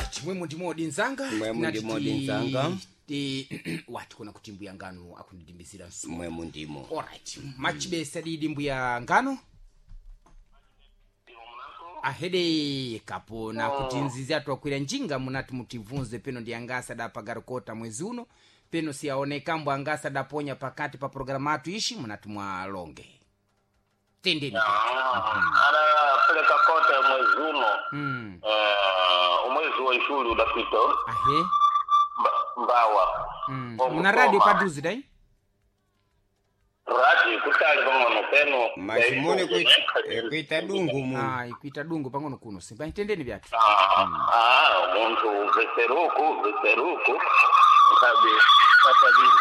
Alright, mwemu ndimodi nzanga. Mwemu Tinati ndimodi nzanga. Wati kuna kuti mbuya ngano akundidimbizira msuwa. Mwemu ndimo. Alright, machibesa didi mbuya ngano ahede kapona kuti nzizi atwakwira njinga munati mutibvunze peno ndi angasa dapagarikota mwezi uno peno siyaonekambo angasa daponya pakati pa programa atu ishi munati mwalonge tendeni. Anapeleka kota mwezi uno. Umwezi wa ishuli udapita. Ahe. Mbawa. Muna radio paduzi dai. Radio kutali pang'ono peno. Machimone kuita dungu muno. Ah, ikuita dungu pang'ono kuno simba tendeni vyatu. Ah, munthu umveseruku umveseruku nkabe katabiri.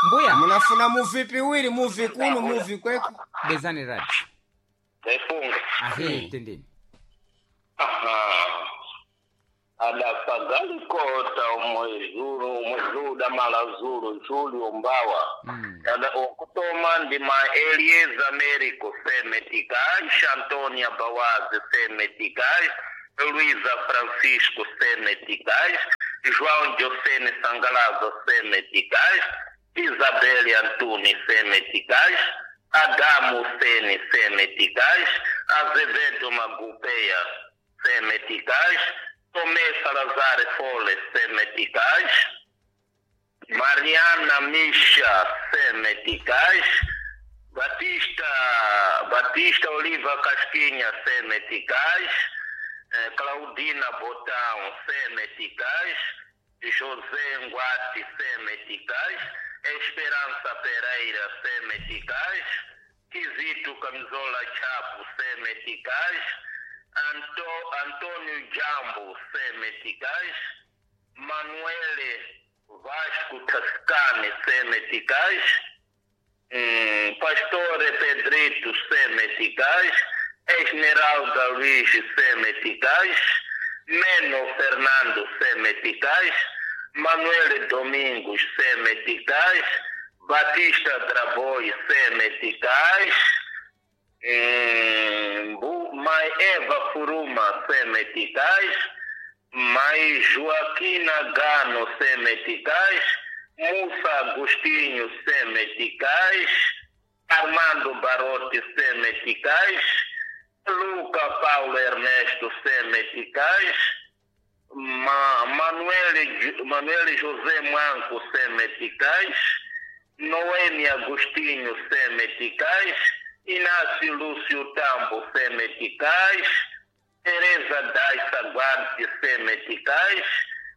Mbuya. Munafuna muvi piwiri, muvi kuno, muvi kweko. Bezani radio. Efunga. Ahe, tendeni. Aha. Adapagali kota umwezuru umwezuru damala zulu julio mbawa. Ada okutoma ndima Elieza Americo Semeticais, Antônia Bawazi Semeticais, Luísa Francisco Semeticais, João Diocene Sangalaza Semeticais, Isabelle Antunes Semeticais, Adamo Sene Semeticais, Azevedo Magupeia Semeticais, Tomé Salazar Fole Semeticais, Mariana Misha Semeticais, Batista Oliva Casquinha Semeticais, Claudina Botão Semeticais, José Nguati Semeticais, Esperança Pereira Semeticais, Quisito Camisola Chapo Semeticais, Antônio Jambo Semeticais, Manuele Vasco Tascane Semeticais, Pastore Pedrito Semeticais, Esmeralda Luiz Semeticais, Meno Fernando Semeticais, Manuel Domingos Semeticais, Batista Draboi Semeticais, Mai Eva Furuma Semeticais, Mai Joaquina Gano Semeticais, Musa Agostinho Semeticais, Armando Barotti Semeticais, Luca Paulo Ernesto Semeticais, Manuel José Manco Semeticais, Noemi Agostinho Semeticais, Inácio Lúcio Tambo Semeticais, Teresa Daissa Guarte Semeticais,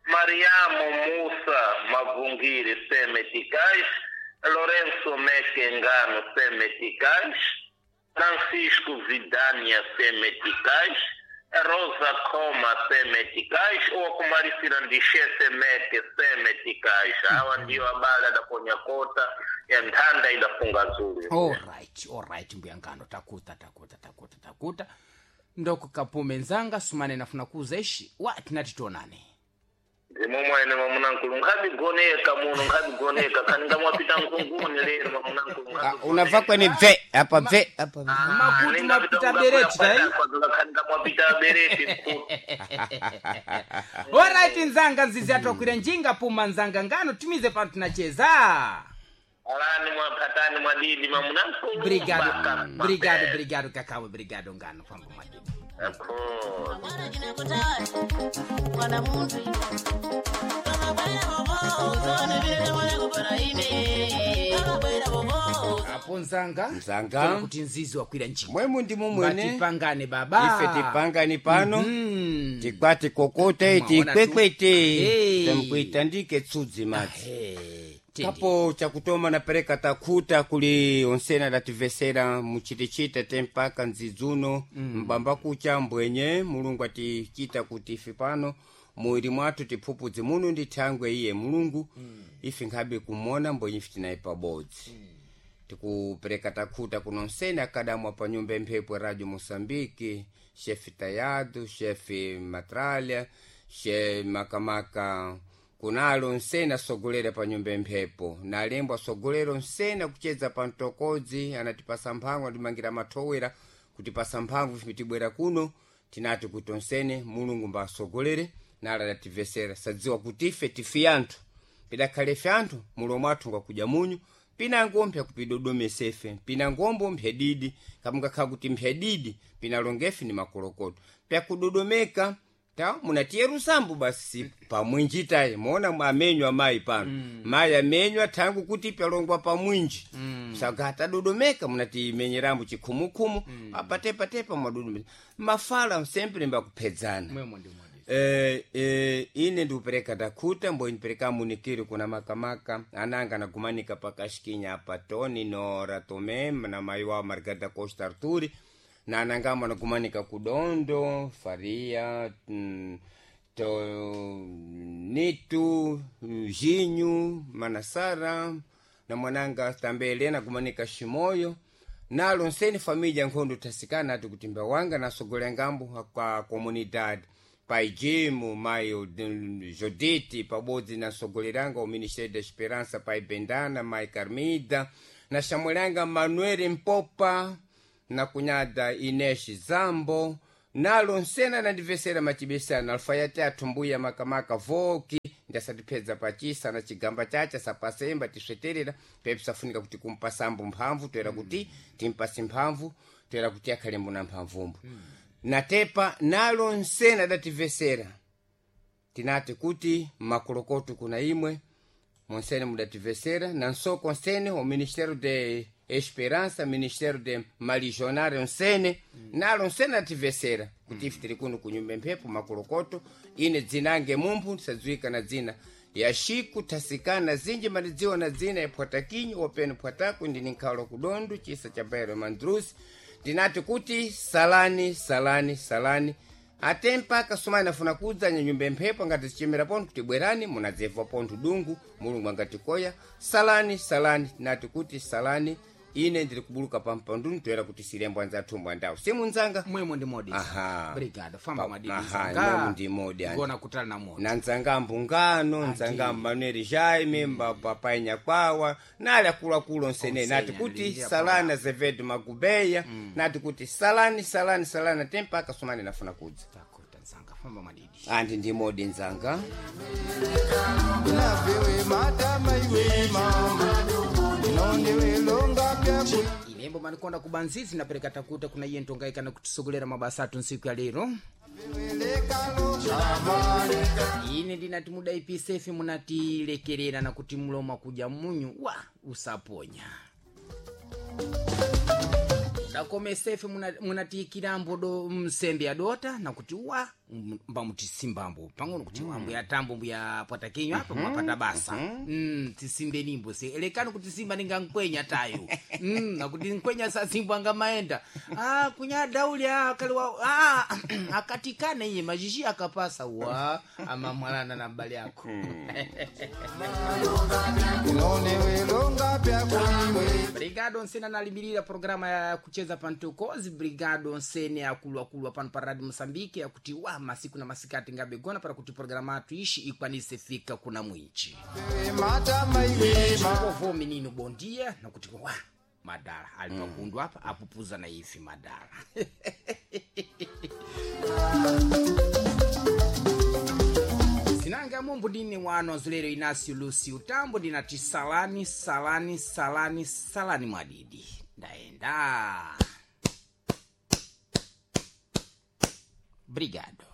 Mariamo Musa Mavungiri Semeticais, Lourenço Mequengano Semeticais, Francisco Vidania Semeticais, Rosa Coma Semeticais, ou Kumarisirandixe Semete Semeticais. Awa ndiyo abala da Konyakota ya Nthanda ida Funga Zulu. Alright, alright mbuya ngano takuta takuta takuta takuta ndoko kapume nzanga sumane nafuna kuuza ishi wati nati tionane. Ndimomwene mamunankulu nkhabigoneka muno nkhabigoneka khaninga mwapita nkunguni lero mamunankulu. Unava kwene bve apa bve apa. Makuti mwapita bereti dai. Khaninga mwapita bereti. Alright nzanga nzizi atwakwira njinga puma nzanga ngano tumize pano tunacheza. Alani mwapatani mwadidi mamunankulu. Brigado, brigado, brigado kakawe, brigado ngano pambo mwadidi. Akho. Apo nzanga. Nzanga. Kona kuti nzizi wakwira njinga. Mwemu ndimo mwene. Ngatipangane baba. Ife tipangani pano. Tikwati kokote Mwaona tu. tikwekwete. Hey. Tamkuitandike tsudzi madzi. Hey, tende. Kapo chakutoma napereka takuta kuli onsena dativesera muchitichita tempaka nzidzuno mbamba kucha mbwenye mulungu atichita kuti ife pano muwiri mwathu tiphupudze muno ndi thangwe iye mulungu ife nkhabe kumona mbwenye ife tinayi pabodzi. Tikupereka takhuta kuno nsena akadamwa pa nyumba emphepo Radio Moçambique, chefe Tayado, chefe Matralha, che Makamaka kunalo nsena asogolera pa nyumba emphepo na alembo asogolera nsena kucheza pa mtokodzi anatipasa mphango atimangira mathowera kutipasa mphamvu ife tibwera kuno. Tinati kuti onsene Mulungu mbasogolere nala dativesera sadziwa kuti ife tifi anthu pidakhale ife anthu mulomo athu ngakudya munyu pinango mpya kupidodomesa ife pinangombo mphyadidi kamungakhala kuti mphyadidi pinalongefe ni makolokoto pyakudodomeka ta munatiyerusambu basi pamwinji tayi moona amenywa mayi pano. Mayi amenywa thangu kuti pyalongwa pamwinji. Saka atadodomeka munatimenyerambo chikhumukhumu. Apatepatepa mwadodomeka mafala sempre mbakuphedzana. Mwemo ndi modi. Ine ndikupereka takhuta mbo ndipereka munikiri kuna makamaka ananga anagumanika pakashikinya apa Tony Nora Tome na mayi wawo Margarida Costa Arturi na anangamo anagumanika kudondo Faria to Nitu Jinyu Manasara na mwananga tambele anagumanika Shimoyo nalo nseni família nkhondo tasikana ati kuti mbawanga nasogolera ngambo kwa comunidade pai Jimo mai Jodite pabodzi nasogoleranga o Ministério da Esperança pai Bendana mai Carmida na xamwelanga Manuel Mpopa na kunhada Inês Zambo nalo nsena nandivesera matibesana alfayate athu mbuya makamaka voki ndasatiphedza pachisa na chigamba chacha sapasemba tisveterera pepisafunika kuti kumpasambo mphamvu toera kuti timpase mphamvu toera kuti akhalembo na mphamvumbo. Natepa nalo nsena dativesera tinati kuti makolokoto kuna imwe monsene mudativesera na nsoko nsene o Ministério de Esperança Ministério de Malijonário nsene. Nalo nsene ativesera kuti ife tili kuno kunyumba mphepo makolokoto ine dzinange mumphu ndisadziwika na dzina ya Xiku tasikana zinji malidziwa na dzina ya Pwatakinyu wopeno Pwataku ndini nkhalo kudondo chisa cha Bairo Mandrusi ndinati kuti salani salani salani ate mpaka sumani afuna kudza nyanyumba mphepo angati zichemera pontho kuti bwerani munadzebva pontho dungu Mulungu angatikoya salani salani tinati kuti salani ine ndiri kubuluka pampanduni toera kuti silembo anzathumbo andawo simunzanga. Mwemo ndi modi. Aha. Brigado famba madidi. Aha, mwemo ndi modi, andi. Gona kutala na moto na nzanga mbungano nzanga Manuel Jaime papai Nyakwawa nali akuluakulu onsene nati kuti analinjira salani Azevedo Magubeya nati kuti salani salani salani ate mpaka sumani nafuna kudza. Takuta nzanga famba madidi. Andi ndi modi nzanga. Inaviwe matama iwe mama inondiwe longa pyaku Ilembo manikonda kubanzizi napereka takuta kuna iye ntongaikana kutisogolera mabasa athu ntsiku ya lero. lekalo amane Ine ndinati mudaipisefe munatilekerera na kuti mlomo kudya munyu wa usaponya mudakomesefe munatiikirambo do msembe yadota nakuti wa mbamutisimbambo pang'ono kuti ambuya tambo mbuya pwatakinyo apa mwapata basa. Tisimbenimbo se elekani kuti simba ningankwenya tayo. Nakuti nkwenya sasimbwa ngamaenda ah, kunya dauli akaliwa akatikana iye mazhizhi akapasa wa amamwalana na mbali yako. inondiwe longa pyaku iwe Brigado nsene analimirira programa ya kucheza pantokozi brigado nsene akuluakulu pano pa Radio Moçambique yakuti wa masiku na masikati ngabegona para kuti programa atu ishi ikwanise fika kuna mwinchi matama iwe mama kovo menino bom dia nakuti wa madala ali pakundu apa apupuza na ife madala. Zinanga mombo ndine wano azulero Inácio Lúcio Tambo ndinati salani salani salani salani mwadidi ndaenda. Obrigado.